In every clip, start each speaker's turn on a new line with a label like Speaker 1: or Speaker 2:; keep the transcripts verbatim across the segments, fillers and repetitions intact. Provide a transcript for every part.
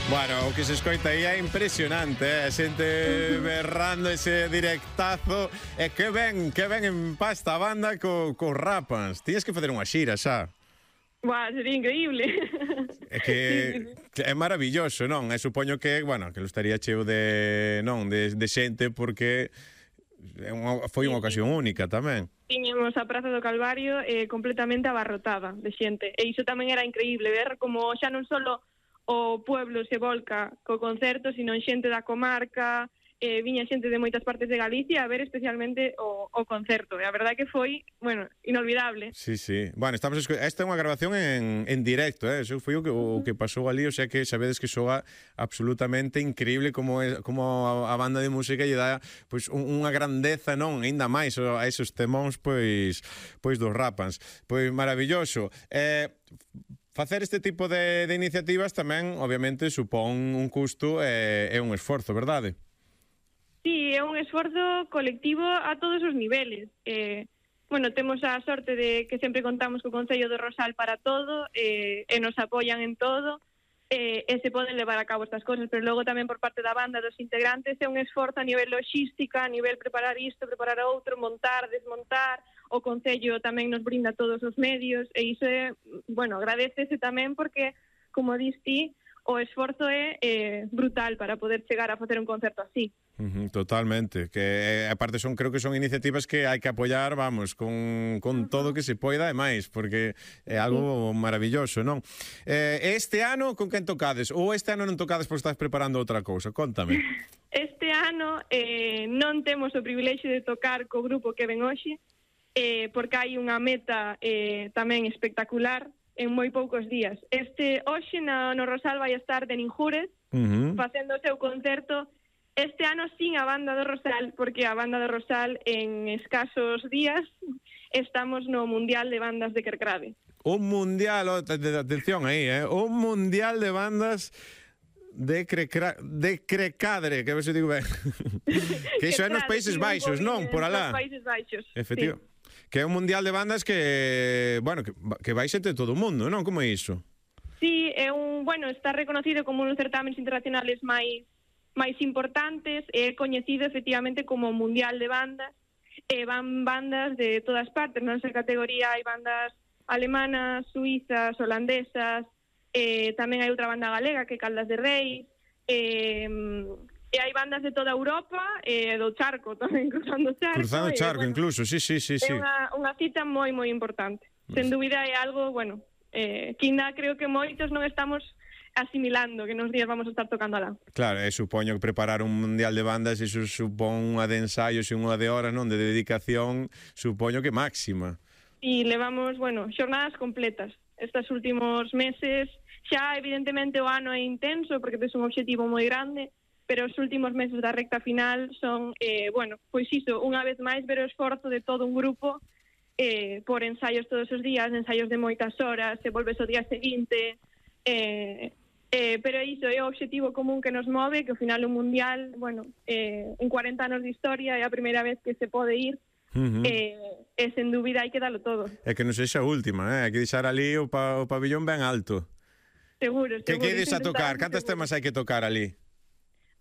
Speaker 1: Bueno, o que se escoita aí é impresionante, eh? A xente berrando ese directazo. E que ben, que ben empasta a banda co, co Rapans. Tías que facer unha xira xa.
Speaker 2: Buah, sería increíble.
Speaker 1: É que, que é maravilloso, non? E supoño que, bueno, que lo estaría cheo de, non, de, de xente porque é unha, foi unha ocasión única tamén.
Speaker 2: Tiñemos a Praza do Calvario eh, completamente abarrotada de xente. E iso tamén era increíble, ver como xa non solo o pueblo se volca co concerto, sino xente da comarca, eh, viña xente de moitas partes de Galicia a ver especialmente o, o concerto. E a verdade que foi, bueno, inolvidable.
Speaker 1: Sí, sí. Bueno, estamos esco... esta é unha grabación en, en directo, eh? Eso foi o que, o que pasou ali, o sea que sabedes que soa absolutamente increíble como é, como a, a banda de música lle dá pois un, unha grandeza, non, aínda máis a esos temóns pois pois dos Rapans. Pois maravilloso. Eh Facer este tipo de, de iniciativas tamén, obviamente, supón un custo e, e un esforzo, verdade?
Speaker 2: Sí, é un esforzo colectivo a todos os niveles. Eh, bueno, temos a sorte de que sempre contamos co Concello do Rosal para todo, eh, e nos apoian en todo, eh, e se poden levar a cabo estas cosas, pero logo tamén por parte da banda dos integrantes é un esforzo a nivel logística, a nivel preparar isto, preparar outro, montar, desmontar. O Concello tamén nos brinda todos os medios e iso é, bueno, agradecese tamén porque, como dis ti, o esforzo é eh, brutal para poder chegar a facer un concerto así.
Speaker 1: Uh-huh, totalmente, que aparte son, creo que son iniciativas que hai que apoiar, vamos, con, con todo que se poida e máis, porque é algo maravilloso, non? Eh, este ano con quen tocades? Ou este ano non tocades porque estás preparando outra cousa? Contame.
Speaker 2: Este ano eh, non temos o privilexio de tocar co grupo que ven hoxe, eh, porque hai unha meta eh, tamén espectacular en moi poucos días. Este hoxe no, no Rosal vai estar de Ninjures, uh-huh, facendo o seu concerto. Este ano sin a banda do Rosal, porque a banda do Rosal en escasos días estamos no Mundial de Bandas de Kerkrade.
Speaker 1: Un mundial, oh, atención aí, eh? Un mundial de bandas de Crecra, de Crecadre, que a ver se digo ben. Que iso é nos Países Baixos, non? Por alá.
Speaker 2: Nos Países Baixos.
Speaker 1: Efectivo.
Speaker 2: Sí.
Speaker 1: Que é un mundial de bandas que, bueno, que, que vai xente de todo o mundo, non? Como é iso?
Speaker 2: Sí, é un, bueno, está reconocido como un dos certámenes internacionales máis máis importantes, é coñecido efectivamente como mundial de bandas, e van bandas de todas partes, non sei categoría, hai bandas alemanas, suizas, holandesas, eh, tamén hai outra banda galega que é Caldas de Reis, eh, e hai bandas de toda Europa e eh, do charco tamén, cruzando o charco.
Speaker 1: Cruzando o charco,
Speaker 2: e, bueno,
Speaker 1: incluso, sí, sí, sí, sí.
Speaker 2: É unha, unha cita moi, moi importante. Sen dúbida é algo, bueno, eh, que ainda creo que moitos non estamos asimilando que nos días vamos a estar tocando alá.
Speaker 1: Claro, e supoño que preparar un mundial de bandas iso supón unha de ensaios e unha de horas, non, de dedicación, supoño que máxima.
Speaker 2: E levamos, bueno, xornadas completas. Estes últimos meses, xa evidentemente o ano é intenso porque tes un obxectivo moi grande, pero os últimos meses da recta final son, eh, bueno, pois iso, unha vez máis ver o esforzo de todo un grupo eh, por ensaios todos os días, ensaios de moitas horas, se volves o día seguinte, eh, eh, pero iso é o obxectivo común que nos move, que ao final o mundial, bueno, eh, en cuarenta anos de historia é a primeira vez que se pode ir, uh-huh, eh, e sen dúbida hai que dalo todo.
Speaker 1: É que non sexa a última, eh? Hai que deixar ali o, pa, o pabillón ben alto.
Speaker 2: Seguro, seguro.
Speaker 1: Que quedes a tocar? Cantas temas hai que tocar ali?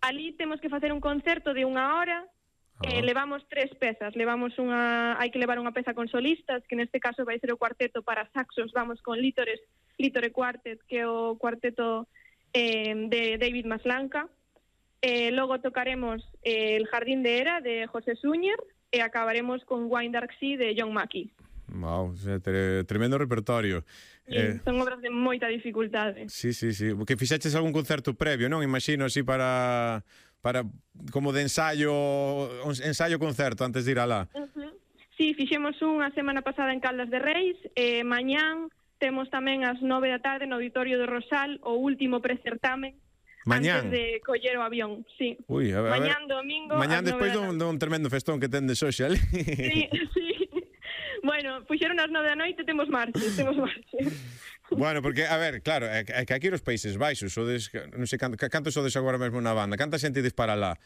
Speaker 2: Ali temos que facer un concerto de unha hora, ah. eh, levamos tres pezas, levamos unha, hai que levar unha peza con solistas, que neste caso vai ser o cuarteto para saxos, vamos con Lítores, Lítore Quartet, que é o cuarteto eh, de David Maslanka, eh, logo tocaremos eh, El Jardín de Hera, de José Súñer, e acabaremos con Wine Dark Sea, de John Mackey.
Speaker 1: Wow, tremendo repertorio.
Speaker 2: Sí, eh, son obras de moita dificultade.
Speaker 1: Sí, sí, sí. Que fixeches algún concerto previo, non? Imagino así para para como de ensayo, ensayo concerto antes de ir alá.
Speaker 2: Uh-huh. Sí, fixemos unha semana pasada en Caldas de Reis, e mañán temos tamén ás nove da tarde no Auditorio do Rosal o último precertamen.
Speaker 1: Mañán?
Speaker 2: Antes de coller o avión, sí.
Speaker 1: Uy, a ver,
Speaker 2: mañán domingo.
Speaker 1: Mañán despois dun, dun tremendo festón que tendes hoxe ali.
Speaker 2: Sí, sí. Bueno, puxeron as nove da noite, temos marche, temos marche.
Speaker 1: Bueno, porque, a ver, claro, é que aquí os Países Baixos, sodes, non sei canto, canto sodes agora mesmo na banda, canta xente dispara lá?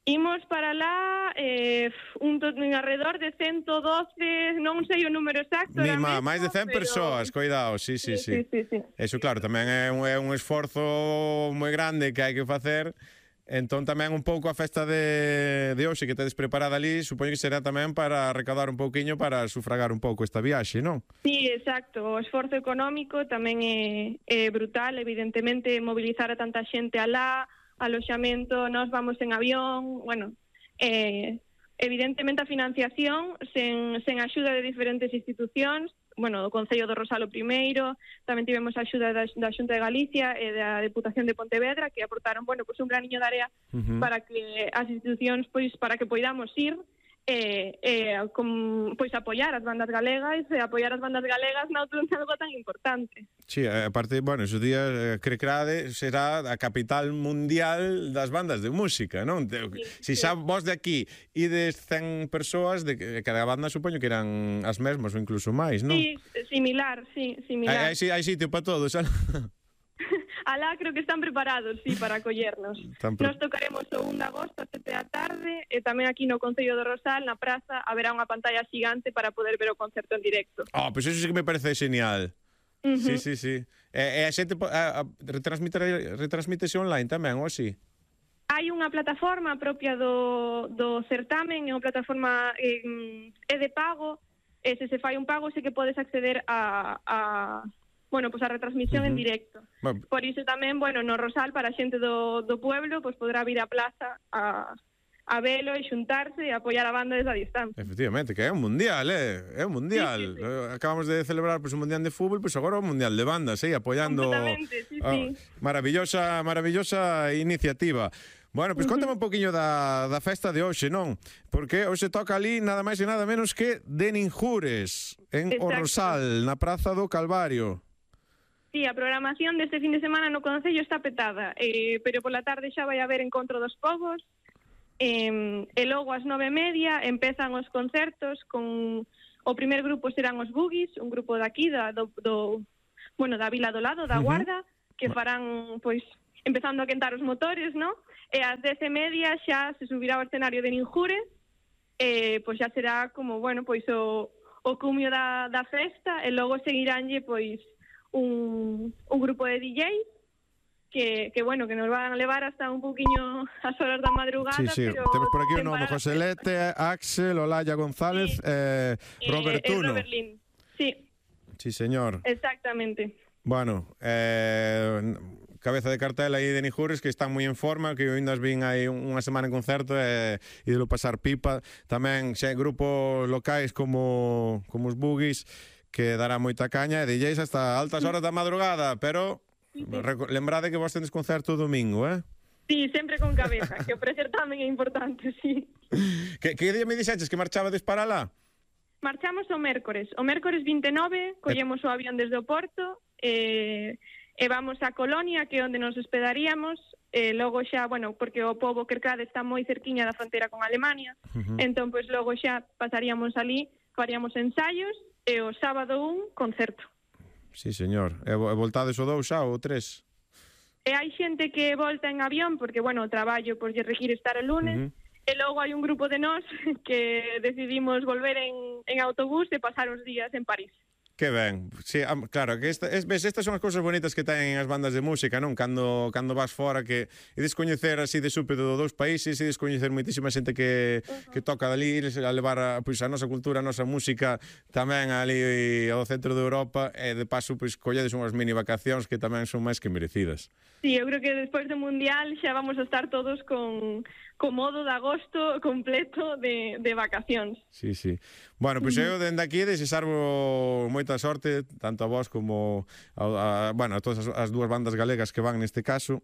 Speaker 2: Imos para lá eh, un, un alrededor de ciento doce, non sei o número exacto.
Speaker 1: Ni má, máis de cen
Speaker 2: pero...
Speaker 1: persoas, cuidado, sí, sí, sí.
Speaker 2: sí, sí, sí.
Speaker 1: Eso, claro, tamén é un, é un esforzo moi grande que hai que facer. Entón tamén un pouco a festa de, de hoxe que tedes preparada ali, supoño que será tamén para recaudar un pouquiño para sufragar un pouco esta viaxe, non?
Speaker 2: Sí, exacto. O esforzo económico tamén é, é brutal, evidentemente mobilizar a tanta xente alá, aloxamento, nós vamos en avión, bueno, eh, evidentemente a financiación sen, sen axuda de diferentes institucións, bueno, o Concello do Rosal o primeiro, tamén tivemos a axuda da, da Xunta de Galicia e da Deputación de Pontevedra que aportaron, bueno, pues un graniño de area uh-huh. para que as institucións, pois, para que poidamos ir e, e com, pois apoiar as bandas galegas e apoiar as bandas galegas na outro algo tan importante.
Speaker 1: Sí, aparte, bueno, esos días eh, Crecrade será a capital mundial das bandas de música, non? Sí, si xa sí. Vos de aquí ides cen persoas, de cada banda supoño que eran as mesmas ou incluso máis, non?
Speaker 2: Sí, similar, sí, similar.
Speaker 1: Hai, hai, hai sitio para todos, xa?
Speaker 2: Alá creo que están preparados, sí, para acollernos. Pre... Nos tocaremos o un de agosto a sete da tarde e tamén aquí no Concello do Rosal, na praza, haberá unha pantalla xigante para poder ver o concerto en directo.
Speaker 1: Ah, oh, pois pues eso sí que me parece genial. Uh-huh. Sí, sí, sí. E, e a xente a, a, retransmite, retransmítese online tamén, ou así?
Speaker 2: Hai unha plataforma propia do, do certamen, é unha plataforma eh, é de pago, e se se fai un pago sei que podes acceder a... a bueno, pues a retransmisión uh-huh. en directo. Bueno. Por iso tamén, bueno, no Rosal, para a xente do, do pueblo, pues podrá vir á plaza a, a velo e xuntarse e apoiar a banda desde a distancia.
Speaker 1: Efectivamente, que é un mundial, eh? É un mundial. Sí, sí, sí. Acabamos de celebrar pues, un mundial de fútbol, pues agora un mundial de bandas, eh? Apoiando...
Speaker 2: Completamente, sí,
Speaker 1: oh,
Speaker 2: sí.
Speaker 1: Maravillosa, maravillosa iniciativa. Bueno, pois pues, contame un poquinho da, da festa de hoxe, non? Porque hoxe toca ali nada máis e nada menos que de Ninjures, en Exacto. O Rosal, na Praza do Calvario.
Speaker 2: Sí, a programación deste fin de semana no Concello está petada, eh, pero pola tarde xa vai haber Encontro dos Povos, eh, e logo ás nove e media empezan os concertos con... O primer grupo serán os Boogies, un grupo daqui, da, do, do, bueno, da Vila do Lado, da Guarda, uh-huh. que farán, pois, empezando a quentar os motores, ¿no? E ás dez e media xa se subirá ao escenario de Ninjures, e pois xa será como, bueno, pois o, o cumio da, da festa, e logo seguiránlle, pois, Un, un grupo de D Js que, que, bueno, que nos van a levar hasta un poquinho as horas da madrugada.
Speaker 1: Sí, sí,
Speaker 2: pero
Speaker 1: temos por aquí o nome José Lete, Axel, Olaya González, sí. eh, Robert
Speaker 2: eh,
Speaker 1: Tuno.
Speaker 2: Robert Lin, sí.
Speaker 1: Sí, señor.
Speaker 2: Exactamente.
Speaker 1: Bueno, eh, cabeza de cartel aí de Ninjures que están moi en forma, que eu ainda vin aí unha semana en concerto e eh, ídelo pasar pipa. Tamén xe, grupos locais como, como os Boogies, que dará moita caña e D Js hasta altas horas da madrugada, pero sí, sí. lembrade que vos tendes concerto o domingo, eh?
Speaker 2: Sí, sempre con cabeza, que o precer tamén é importante, sí.
Speaker 1: Que, que día me dixeches que marchabades para lá?
Speaker 2: Marchamos o mércores, o mércores vinte e nove, collemos o avión desde o Porto, e, e vamos a Colonia, que é onde nos hospedaríamos, e logo xa, bueno, porque o pobo Crecrade está moi cerquiña da fronteira con Alemania, uh-huh. entón, pois, logo xa pasaríamos ali, faríamos ensaios, e o sábado un concerto.
Speaker 1: Sí, señor. E voltades o dous xa ou o tres?
Speaker 2: E hai xente que volta en avión porque, bueno, o traballo pois lle require estar el lunes, uh-huh. e logo hai un grupo de nós que decidimos volver en, en autobús e pasar os días en París.
Speaker 1: Que ben, sí, claro, que esta, es, ves, estas son as cousas bonitas que ten as bandas de música, non? Cando, cando vas fora, que ides coñecer así de súpeto dos dous países, ides coñecer moitísima xente que, uh-huh. que toca dali, a levar a, pois, a nosa cultura, a nosa música tamén ali ao centro de Europa, e de paso, pois, colledes unhas mini vacacións que tamén son máis que merecidas.
Speaker 2: Sí, eu creo que despois do Mundial xa vamos a estar todos con, con modo de agosto completo de, de vacacións.
Speaker 1: Sí, sí. Bueno, pois pues eu dende aquí desexarvo moita sorte, tanto a vos como a, a, bueno, a todas as, as dúas bandas galegas que van neste caso.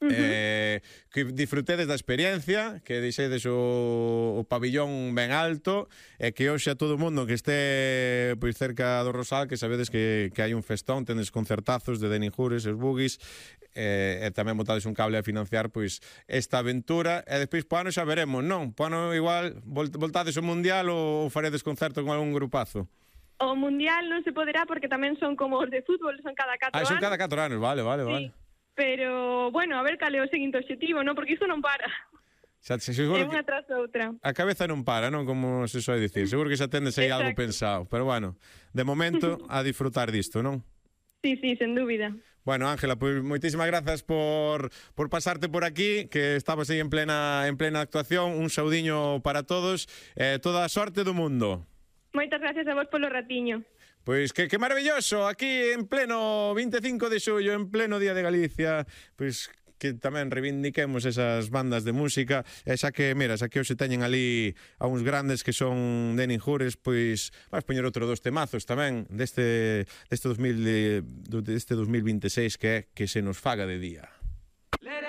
Speaker 1: Uh-huh. eh, que disfrutedes da experiencia, que deixedes o, o pabillón ben alto, e que hoxe a todo o mundo que este pois cerca do Rosal, que sabedes que, que hai un festón, tendes concertazos de Ninjures, os Boogies, e, e tamén botades un cable a financiar pois esta aventura, e despois po ano xa veremos, non? Po ano igual voltades ao Mundial ou faredes concerto con algún grupazo?
Speaker 2: O Mundial non se poderá porque tamén son como os de fútbol, son cada catro anos.
Speaker 1: Ah, son cada catro anos, vale, vale,
Speaker 2: sí.
Speaker 1: vale.
Speaker 2: Pero, bueno, a ver cal é o seguinte obxectivo, non? Porque isto non para.
Speaker 1: Xa, seguro
Speaker 2: é unha
Speaker 1: que
Speaker 2: tras outra.
Speaker 1: a cabeza non para, non? Como se soe dicir. Seguro que xa tendes aí algo
Speaker 2: Exacto.
Speaker 1: pensado. Pero bueno, de momento, a disfrutar disto, non?
Speaker 2: Sí, sí, sen dúbida.
Speaker 1: Bueno, Ángela, pois moitísimas grazas por, por pasarte por aquí, que estabas aí en plena, en plena actuación. Un saudiño para todos. Eh, toda a sorte do mundo.
Speaker 2: Moitas gracias a vos polo ratiño.
Speaker 1: Pois que, que maravilloso, aquí en pleno vinte e cinco de xullo, en pleno Día de Galicia, pois que tamén reivindiquemos esas bandas de música, e xa que, mira, xa que hoxe teñen ali a uns grandes que son Denis Jures, pois vas poñer outro dos temazos tamén deste, deste, dos mil, deste dos mil vinte e seis, que é Que se nos faga de día.